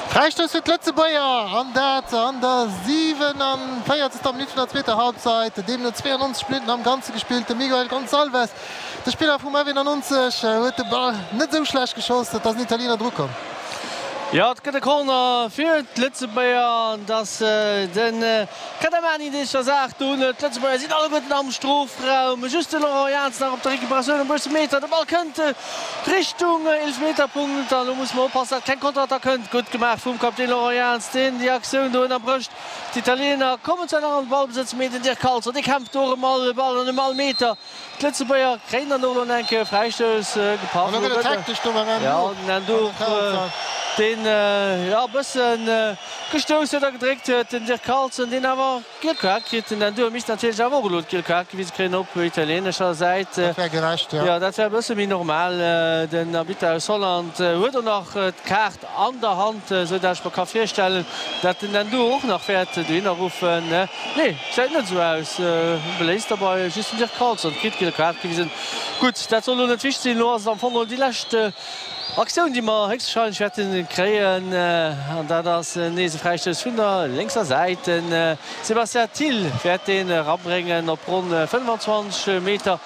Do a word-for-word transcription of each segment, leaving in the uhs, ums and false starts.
Fräistouss fir d'Lëtzebuerger an dat an der siwenavéierzegster Minutt vun der zweeter Halbzeit. Deemno zwéiannonzeg Minutten am Ganze gespillt. De Miguel Gonçalves, de Spiller vum F eenannonzeg, huet de Ball net esou schlecht geschoss, et ass en Italiener drukomm. Jo, et gëtt e Corner fir d'Lëtzebuerger an et ass de Kadamani, dee sech der Saach do unhëlt. D'Lëtzebuerger sinn alleguerten am Strofraum, just de Laurent Jans nach op der Recuperatioun um bësse Meter. De Ball kënnt Richtung Eelefmeterpunkt an elo musse mer oppassen, datt keng Konterattack kënnt. Gutt gemaach vum Kapitän Laurent Jans, deen déi Aktioun do ënnerbrécht. D'Italiener kommen zwar nach an de Ballbesëtz, mee den Dirk Calzo, dee kämpft do ëm all Ball an ëm all Meter. D'Lëtzebuerger kréien dann och elo eng Kéier e Fräistouss gepaff. An elo gëtt et hektesch do beim Jo, den Ndour, deen jo e bësse gestouss huet a gedréckt huet. Den Dirk Carlson, deen awer d'giel Kaart kritt. Den Ndour misst natierlech awer och elo d'giel Kaart gewise kréien op italieenescher Säit. Dat wär gerecht, jo. Jo, dat wär e bësse méi normal. Den Arbitter aus Holland huet och nach d'Kaart an der Hand, esou dat ech mer ka virstellen, dat den Ndour och nach wäert dohinner ruffen. Nee, gesäit net esou aus. Beléisst derbei just den Dirk Carlson kritt d'giel Kaart gewisen. Gutt, dat soll elo net wichteg sinn. Elo ass et am Fong geholl déi lescht Aktioun, déi mer héchstwahrscheinlech wäerte kréien. An dat ass nees e Fräistouss vun der lénkser Säit. De Sébastien Thill wäert deen erabréngen op ronn fënnfanzwanzeg Meter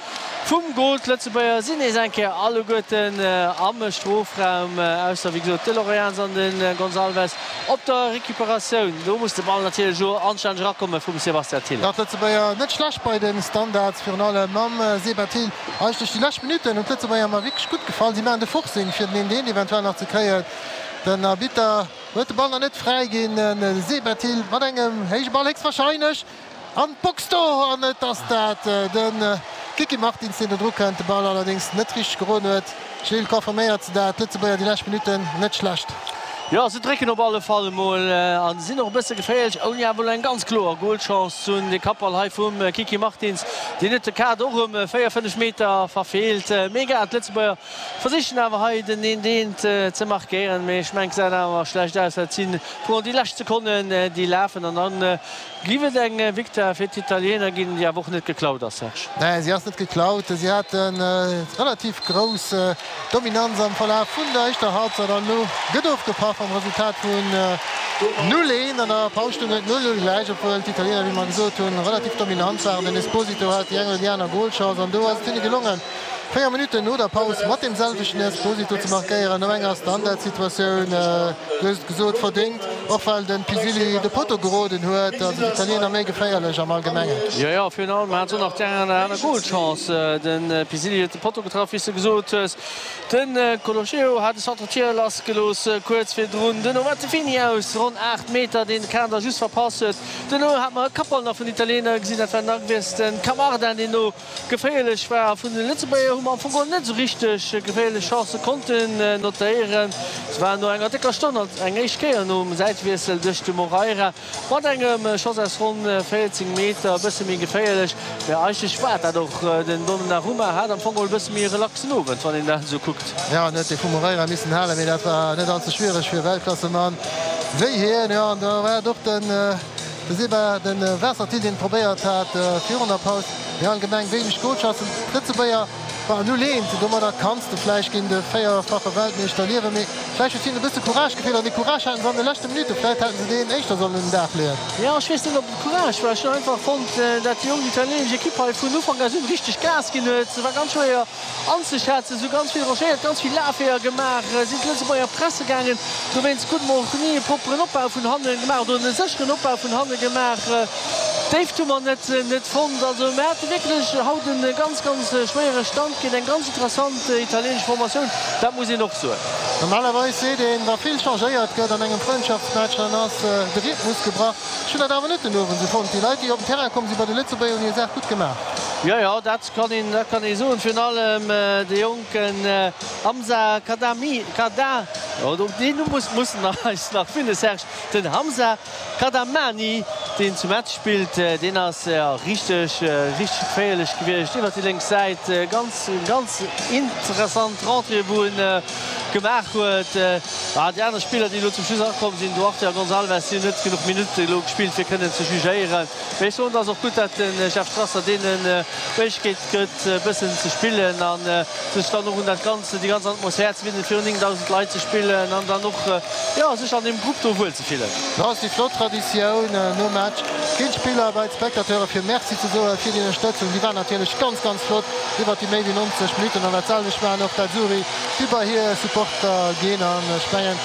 vum Gol. D'Lëtzebuerger sinn nees eng Kéier alleguerten am Strofraum, ausser wéi gesot de Lorenz an de Gonçalves op der Recuperatioun. Do muss de Ball natierlech elo anstänneg erakomme vum Sébastien Thill. Nach d'Lëtzebuerger net schlecht bei de Standards, virun allem mam Seba Thill. Eigentlech déi lescht Minutten hunn d'Lëtzebuerger mer wierklech gutt gefall. Si maachen de Forcing fir den een eent eventuell nach ze kréien. Den Arbitter huet de Ball nach net fräiginn. De Seba Thill mat engem héije Ball héchstwarscheinlech an d'Box do an et ass dat de Kiki Martins, deen do dru kënnt, de Ball allerdéngs net richteg geroden huet. Gilles, confirméiert se dat? D'Lëtzebuerger déi lescht Minutten net schlecht. Jo, se drécken op alle Fall emol a sinn och e bësse geféierlech, ouni awer elo eng ganz kloer Golchance ze hunn. De Kappball hei vum Kiki Martins, deen huet de Kader och ëm véier, fënnef Meter verfeelt. Mee egal, d'Lëtzebuerger versichen awer hei den eent eent ze markéieren. Mee ech mengen, et gesäit awer schlecht aus. Dat si virun déi lescht Sekonnen, déi lafen an dann Giff et eng Victoire fir d'Italiener ginn, déi awer och net geklaut ass, Serge? Nee, si ass net geklaut. Si haten relativ grouss Dominanz am Verlaf vun der éischter Halbzeit an elo gëtt ofgepaff mam Resultat vun null, een. An der Paus stoung et null, null gläich, obwuel d'Italiener, wéi mer gesot hunn, relativ dominant waren. Den Esposito hat déi eng oder déi aner Golchance an do ass et hinne gelongen, véier Minutten no der Paus mat deem selwechten Esposito ze markéieren no enger Standardsituatioun. Du hues et gesot, verdéngt, och well de Pisilli de Potto geroden huet. Also d'Italiener méi geféierlech am Allgemengen. Jo, jo, virun allem hat se och nach déi eng oder aner Golchance. De Pisilli huet de Potto getraff, wéi s de gesot hues. De Colochero hat e Centre-Tir lassgelooss kuerz virdrun. Duerno war de Fini aus ronn aacht Meter, deen de Kader just verpasst huet. Duerno hat mer e Kappball nach vun den Italiener gesinn, dat war den Agwies, de Camarda, deen do geféierlech war. A vun de Lëtzebuerger hu mer am Fong geholl net esou richteg geféierlech Chancë konnten notéieren. Se waren no enger décker Stonn alt eng éischt Kéier nom Säitewiessel duerch de Moreira mat engem Schoss aus ronn véierzéng Meter e bësse méi geféierlech. Mä eigentlech war dat och. Den Donnarumma hat am Fong geholl e bësse méi e relaxen Owend, wann een dat esou kuckt. Jo, en huet dee vum Moreira missen halen, mee dat war net all ze schwiereg fir e Weltklassemann wéi hien. Jo, an da war et och den Seba, de Waassertil, deen et probéiert hat virun der Paus. Mee allgemeng wéineg Golchancen. D'Lëtzebuerger waren null eent. Domadder kanns de vläicht géint e véierfache Weltmeeschter liewen. Mee vläicht huet hinnen e bësse Courage gefeelt. An dee Courage haten se an de leschte Minutten. Vläicht hätten se deen éischter sollen un den Dag leeën. Jo, ech weess net, ob et Courage war. Ech hunn einfach fonnt, dat déi jonk italienesch Ekipp hei vun Ufank aus un richteg Gas ginn huet. Se war ganz schwéier anzeschätzen. Se hu ganz vill rangéiert, ganz vill Lafweeër gemaach, sinn d'Lëtzebuerger presse gaangen. Dowéinst krute mer och ni e propperen Opbau vun hannen gemaach oder e sécheren Opbau vun hanne gemaach. D'Déift hu mer net net fonnt. Also mir hate wierklech haut e ganz, ganz schwéiere Stand géint eng ganz interessant italienesch Formatioun, dat muss een och soen. Normalerweis seet een, wa vill changéiert gëtt an engem Frëndschaftsmatch, dann ass de Rhythmus gebrach. Ech hunn dat awer net den Owend esou fonnt. Déi Leit, déi op den Terrain komm sinn bei de Lëtzebuerger, hunn hir Saach gutt gemaach. Jo, jo, dat kann een, dat kann ee soen. Virun allem de jonken Hamza Kadami, Kada, oh, deen Numm muss, musse mer eis nach finnen, Serge, den Hamza Kadamani, deen zu Metz spillt, deen ass richteg, richteg geféierlech gewiescht iwwer déi lénks Säit. Ganz, ganz interessant Rentrée, wou en gemaach huet. Déi aner Spiller, déi elo zum Schluss erakomm sinn, Duarte a Gonçalves, déi hunn net genuch Minutte elo gespillt, fir kënnen ze jugéieren. Mee ech soen, et ass och gutt, datt de Jeff Strasser deenen d'Méiglechkeet gëtt, e bëssen ze spillen a sech dann och un dat Ganze, déi ganz Atmosphär ze winnen, virun néngdausend Leit ze spillen an dann och, jo, sech an deem Grupp do wuel ze fillen. Dat ass déi flott Traditioun, nom Match ginn d'Spiller bei d'Spectateure fir Merci ze soe fir déi Ënnerstëtzung. Déi war natierlech ganz, ganz flott iwwert déi méi wéi neunzeg Minutten an dat selwecht maachen och d'Azzurri, déi bei hir Supporter ginn. An ech mengen,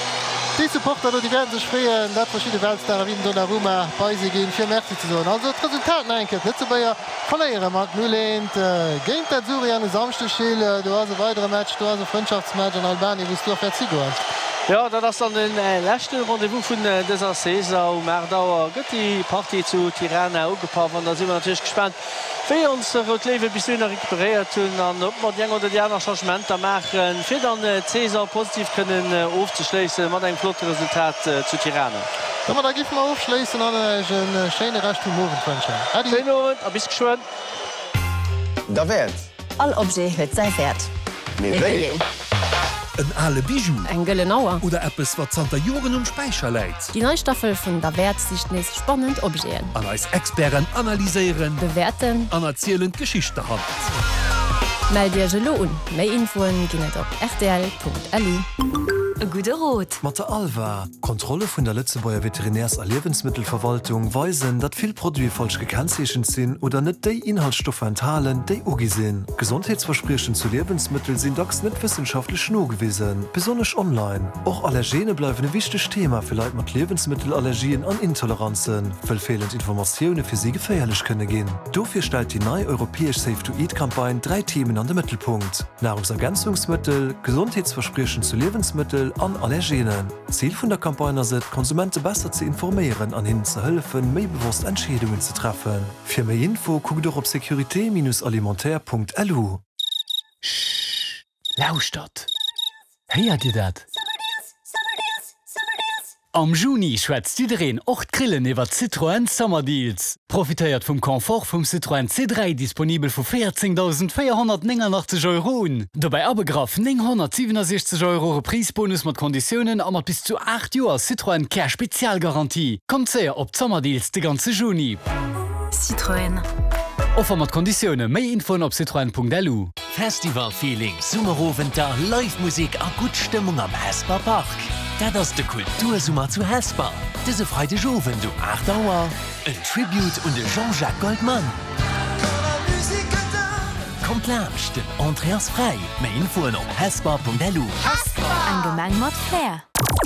déi Supporter do, déi wäerte sech freeën, dat verschidde Weltstare wéi den Donnarumma bei si ginn, fir Merci ze soen. Also d'Resultat nach eng Kéier, D'Lëtzebuerger verléiere mat null eent géint d'Azzurri an e Samschdeg, Gilles, do ass e weidere Match, do ass e Frëndschaftsmatch an Albanien, wou s du och wäerts higoen. Jo, dat ass dann de leschte Rendez-vous vun dëser Saison. Um aacht Auer gëtt déi Partie zu Tirana ugepaff an da si mer natierlech gespaant, wéi ons Rout Léiwe bis dohinner recuperéiert hunn an ob mer déi eng oder déi aner Changementer maachen, fir dann d'Saison positiv kënnen ofzeschléisse mat engem flotte Resultat zu Tirana. Domadder géife mer ofschléissen an Iech e schéine Rescht vum Owend wënschen. Äddi. Schéinen Owend a bis geschwënn. Derwäert. All Objet huet säi Wäert. Mee wéi een? En ale Bijou. Eng gëllen Auer. Oder eppes, wat zanter Joren um Späicher läit. Déi nei Staffel vun Derwäert sicht nees spannend Objeten. An eis Experten analyséieren. Bewäerten. An erzielen d'Geschicht derhannert. Mellt Iech elo un! Méi Infoen ginn et op rtl.lu. E gudde Rot. Mat der ALVA. Kontrolle vun der Lëtzebuerger Veterinärs a Liewensmëttelverwaltung weisen, datt vill Produite falsch gekennzeechent sinn oder net déi Inhaltsstoffer enthalen, déi ugi sinn. Gesondheetsverspriechen zu Liewensmëttel sinn dacks net wëssenschaftlech nogewisen, besonnesch online. Och Allergene bleiwen e wichtegt Thema fir Leit mat Liewensmëttelallergien an Intoleranzen, wëll feelend Informatioune fir si geféierlech kënne ginn. Dofir stellt déi nei europäesch Safe to Eat Campagne dräi Themen an de Mëttelpunkt, Nahrungsergänzungsmëttel, Gesondheetsverspriechen zu Liewensmëttel an Allergenen. Zil vun der Campagne ass et, d'Konsumente besser ze informéieren an hinnen ze hëllefen, méi bewosst Entscheedungen ze treffen. Fir méi Info kuckt och op sécurité-alimentaire.lu. Schhh, lauschtert! Héiert Dir dat? Am Juni schwätzt jiddereen, och d'Grillen, iwwer Citroën Summer Deals. Profitéiert vum Confort vum Citroën C dräi, disponibel vu véierzéngdausend véierhonnertnénganachtzeg Euro un. Dobäi abegraff nénghonnertsiwenasechzeg Euro Reprise-Bonus mat Konditiounen a mat bis zu aacht Joer Citroën Care Spezialgarantie. Kommt séier op d'Summer Deals de ganze Juni. Citroën. Offer mat Konditioune, méi Infoen op citroen.lu. Festival-Feeling, Summerowenter, Live Musek a gutt Stëmmung am Hesper Park. Dat ass de Kultursummer zu Hesper. Dëse Freideg Owend um aacht Auer en Tribute un de Jean-Jacques Goldman. Kommt laanscht, den Entrée ass fräi. Méi Infoen op hesper.lu. Eng Gemeng mat Flair.